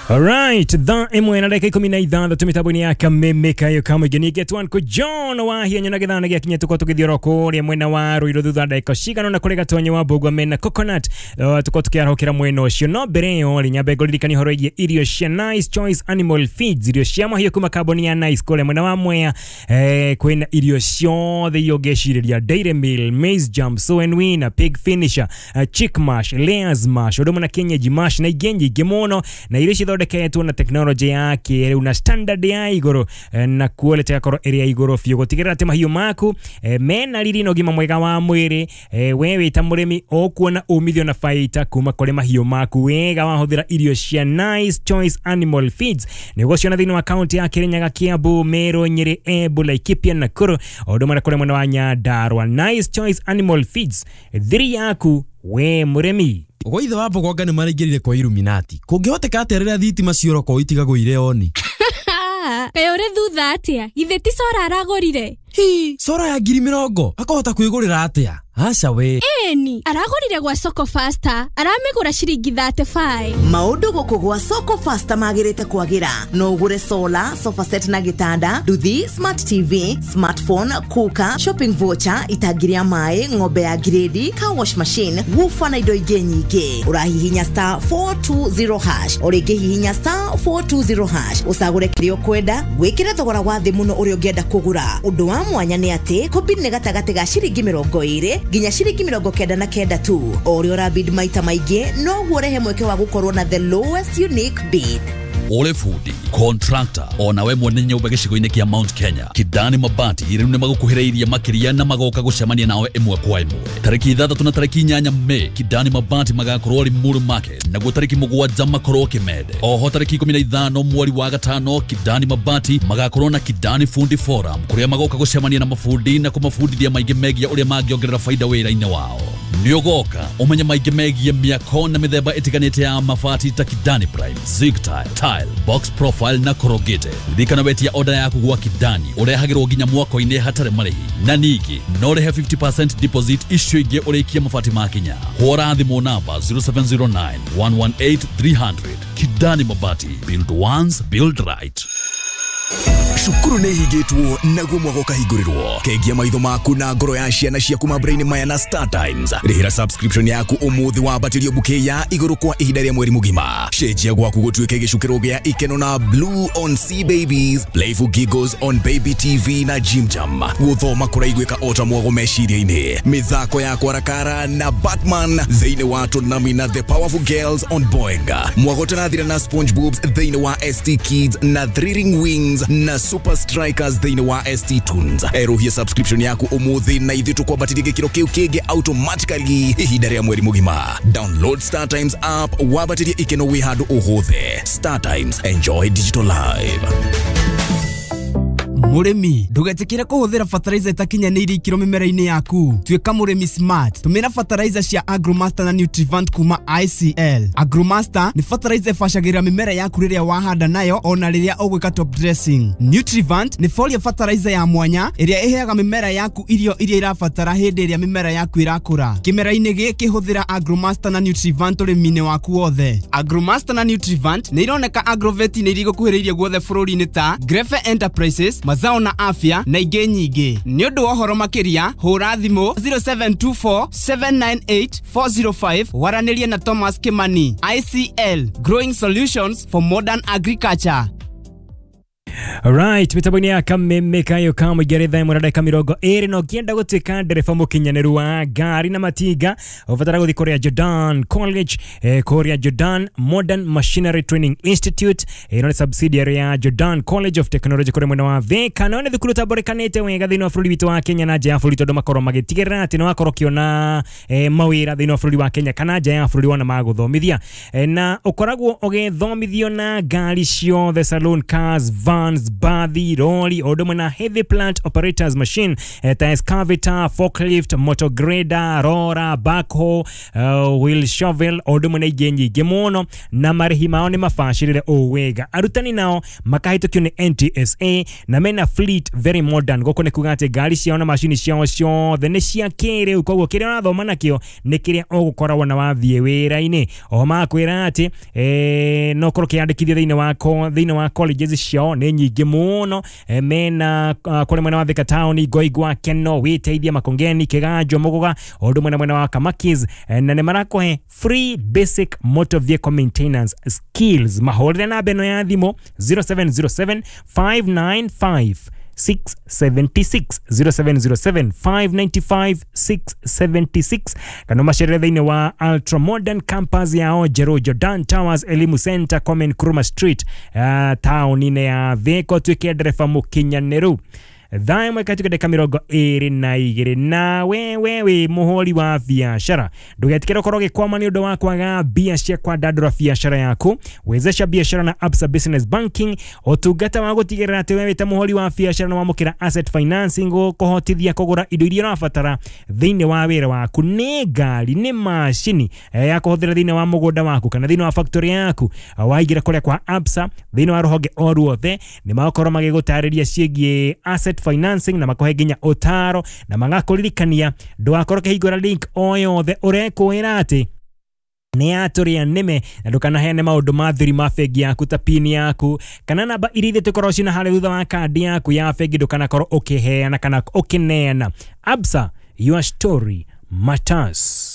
Alright, thaa ĩmwe na ndagĩka 16 mĩtambo-inĩ ya Kameme kayo kamũingĩ ningĩ twanko John Wahianyũ na gĩthana gĩakinya tũkorwo tũgĩthiĩ oro kũrĩa mwena wa Ruiru thutha ndagĩka cigana ũna kũrĩ Gatonye wa Mbũgua mena Coconut, tũkorwo tũkĩarahũkĩra mwena ũcio. No mbere ĩyo rĩ, nyambe ngũririkanie ũhoro wĩgiĩ irio cia Nice Choice Animal Feeds, irio cia mahiũ kuma kambuni ya Nice kũrĩa mwena wa Mwea. Kwĩna irio ciothe iria ũngĩcirĩria: dairy meal, maize jam, sow and win, pig finisher, chick mash, layers mash, ũndũ ũmwe na kienyeji mash na ingĩ nyingĩ mũno. Na irio cithondeketwo na tekinoronjĩ ya kĩrĩu na standard ya igũrũ, na quality ĩgakorwo ĩrĩ ya igũrũ biũ gũtigĩrĩra atĩ mahiũ maku mena riri na ũgima mwega wa mwĩrĩ. We wĩ ta mũrĩmi ũkuona umithio na baita kuma kũrĩ mahiũ maku wega wahũthĩra irio cia Nice Choice Animal Feeds. Nĩ ũgũciona thĩinĩ wa kaunti ya Kirinyaga, Kiambu, Meru, Nyĩrĩ, Embu, Laikipia, Nakuru, o ũndũ ũmwe na kũrĩa mwena wa Nyandarua. Nice Choice Animal Feeds, thiri yaku we mũrĩmi. Gwa ithe wa Mbogonga nĩ maraingĩrire kwa Illuminati. Kũngĩhoteka atĩa rĩrĩa thitima ciora itigagwo irĩ on? Kaĩ ũrĩ thutha atĩa? Githĩ ti solar aragũrire? Hi, solar ya 20,000 akahota kwĩgũrĩra atĩa? Aca we. Ĩni, aragũrire gwa Soko Faster, aramĩgũra ciringi 35. Maũndũ gũkũ gwa Soko Faster magĩrĩte kwagĩra. No ũgũre solar, sofa set na gĩtanda, nduthi, smart TV, smartphone, cooker, shopping voucher, itangi rĩa maĩ, ng'ombe ya grade, car wash machine, woofer na indo ingĩ nyingĩ. Ũrahihinya *420#, o rĩngĩ hihinya *420#, ũcagũre kĩrĩa ũkwenda, wĩkĩre thogora wa thĩ mũno ũrĩa ũngĩenda kũgũra. Ũndũ wa mwanya nĩ atĩ kũbid nĩ gatagatĩ ga ciringi 20 nginya ciringi 99 tu. O ũrĩa ũrabid maita maingĩ, noguo ũrehe mweke wa gũkorwo na the lowest unique bid. Ũrĩ bundi, contractor, ona we mwene nyũmba gĩcigo-inĩ kĩa Mount Kenya, Kidani Mabati rĩu nĩ magũkuhĩrĩirie makĩria na magoka gũcemania nawe ĩmwe kwa ĩmwe. Tarĩki 6 na tarĩki 8 Mei, Kidani Mabati magakorwo Limuru Market, naguo tarĩki 7 makorwo Kimende. Oho tarĩki 15 mweri wa gatano, Kidani Mabati magakorwo na Kidani Fundi Forum kũrĩa magoka gũcemania na mabundi na kũmabundithia maingĩ megiĩ ũrĩa mangĩongerera faida wĩra-inĩ wao. Nĩ ũgoka ũmenye maingĩ megiĩ mĩako na mĩthemba ĩtiganĩte ya mabati ta Kidani Prime, Zig Tile, Tile, Box Profile na Corrugated. Ririkana wetia order yaku gwa Kidani ũrehagĩrwo nginya mwako-inĩ hatarĩ marĩhi, na ningĩ no ũrĩhe 50% deposit, icio ingĩ ũrĩkie mabati makinya. Hũra thimũ namba 0709 118 300. Kidani Mabati, build once, build right. Cukuru nĩ ihingĩtwo naguo mwaka ũkahingũrĩrwo. Kengia maitho maku na ngoro ya ciana ciaku mambura-inĩ maya na Star Times. Rĩhĩra subscription yaku ũmũthĩ wambatĩrio bouquet ya igũrũ kwa ihinda rĩa mweri mũgima. Cenjia gwaku gũtuĩke gĩcukĩro gĩa ikeno na Blue on C Babies, Playful Giggles on Baby TV na Jim Jam. Gũthoma kũraiguĩka ota mwago meciria-inĩ. Mĩthako ya kwarakara na Batman thĩinĩ wa Toonami na The Powerful Girls on Boeing. Mwago tũrathira na SpongeBob thĩinĩ wa ST Kids na Thrilling Wings na Super Strikers thĩinĩ wa ST Tunes. Erũhia subscription yaku ũmũthĩ na ithuĩ tũkwambatĩrie gĩkĩro kĩu kĩngĩ automatically ihinda rĩa mweri mũgima. Download Star Times app wambatĩrie ikeno wĩ handũ o hothe. Star Times, enjoy digital life. Mũrĩmi, ndũgetĩkĩre kũhũthĩra fertilizer ĩtakinyanĩirie ikĩro mĩmera-inĩ yaku. Tuĩka mũrĩmi smart. Tũmĩra fertilizer cia Agromaster na Nutrivant kuma ICL. Agromaster nĩ fertilizer ĩbacagĩrĩra mĩmera yaku rĩrĩa wahanda nayo ona rĩrĩa ũgwĩka top dressing. Nutrivant nĩ foliar fertilizer ya mwanya ĩrĩa ĩheaga mĩmera yaku irio iria irabatara hĩndĩ ĩrĩa mĩmera yaku ĩrakũra. Kĩmera-inĩ gĩkĩ hũthĩra Agromaster na Nutrivant ũrĩmi-inĩ waku wothe. Agromaster na Nutrivant nĩ ironeka agrovet-inĩ iria igũkuhĩrĩirie guothe bũrũri-inĩ ta Grefe Enterprises, Mazao na Afya na ingĩ nyingĩ. Nĩ ũndũ wa ũhoro makĩria hũra thimũ 0724 798 405 waranĩrie na Thomas Kimani. ICL, Growing Solutions for Modern Agriculture. Alright, mĩtambo-inĩ ya Kameme kayo ka mũingĩ thaa 1:20. Na ũngĩenda gũtuĩka ndereba mũkinyanĩru wa ngari na matinga, ũbatara gũthiĩ kũrĩa Jordan College, kũrĩa Jordan Modern Machinery Training Institute. Ĩno nĩ subsidiary ya Jordan College of Technology kũrĩa mwena wa Thika. No nĩ thukuru ũtambũrĩkanĩte wega thĩinĩ wa bũrũri witũ wa Kenya na nja ya bũrũri, tondũ makorwo magĩtigĩrĩra atĩ nĩ wakorwo ũkĩona mawĩra thĩinĩ wa bũrũri wa Kenya kana nja ya bũrũri wona magũthomithia. Na ũkoragwo ũgĩthomithio na ngari ciothe, saloon cars, vans, vehicles, bathi, rori, o ũndũ ũmwe na heavy plant operators machine ta excavator, forklift, motor grader, roller, backhoe, wheel shovel, o ũndũ ũmwe na ingĩ nyingĩ mũno, na marĩhi mao nĩ mabacĩrĩre ũũ wega. Arutani nao makahĩtũkio nĩ NTSA na mena fleet very modern. Gũkũ nĩ kuga atĩ ngari ciao na macini ciao ciothe nĩ cia kĩrĩu, koguo kĩrĩa ũrathoma nakĩo nĩ kĩrĩa ũgũkoragwo na wathiĩ wĩra-inĩ. Oho makwĩra atĩ no ũkorwo ũkĩyandĩkithia thĩinĩ wa colleges ciao nĩ nyingĩ mũno, mena kũrĩa mwena wa Thika Town, Ngoingwa, Keno, Wĩteithia, Makongeni, Kĩganjo, Mũgũga, o ũndũ ũmwe na mwena wa Kamakis, na nĩ marakũhe free basic motor vehicle maintenance skills. Mahũrĩre namba ĩno ya thimũ 0707 595 676, 0707 595 676, kana macerere thĩinĩ wa ultra modern campus yao njerũ, Jordan Towers Elimu Center, Kwame Nkrumah Street, taũni-inĩ ya Thika. Ũtuĩke ndereba mũkinyanĩru. 1 katika dakika 22. Na wewe wĩ mũhũri wa biacara, ndũgetikĩre ũkorwo ũgĩkwama nĩ ũndũ wa kwaga mbia cia kwandandũra biacara yaku. Wezesha biacara na Absa Business Banking, ũtungata wa gũtigĩrĩra atĩ wewe ta mũhũri wa biacara nĩ wamũkĩra asset financing gũkũhotithia kũgũra indo iria ũrabatara thĩinĩ wa wĩra waku, nĩ ngari, nĩ macini ya kũhũthĩra thĩinĩ wa mũgũnda waku kana thĩinĩ wa factory yaku. Waingĩra kũrĩa kwa Absa thĩinĩ wa rũhonge o ruothe, nĩ magũkorwo magĩgũtarĩria ciĩgiĩ asset financing na makohe nginya ũtaro na magakũririkania ndũgakorwo ũkĩhingũra link o yothe ũrekwĩra atĩ nĩ yatũrĩa nĩme, na ndũkanaheane maũndũ ma thiri ma bengi yaku ta pin yaku kana namba iria ithe tũkorwo cina harĩa thutha wa kandi yaku ya bengi, ndũkanakorwo ũkĩheana kana ũkĩneana. Absa, your story matters.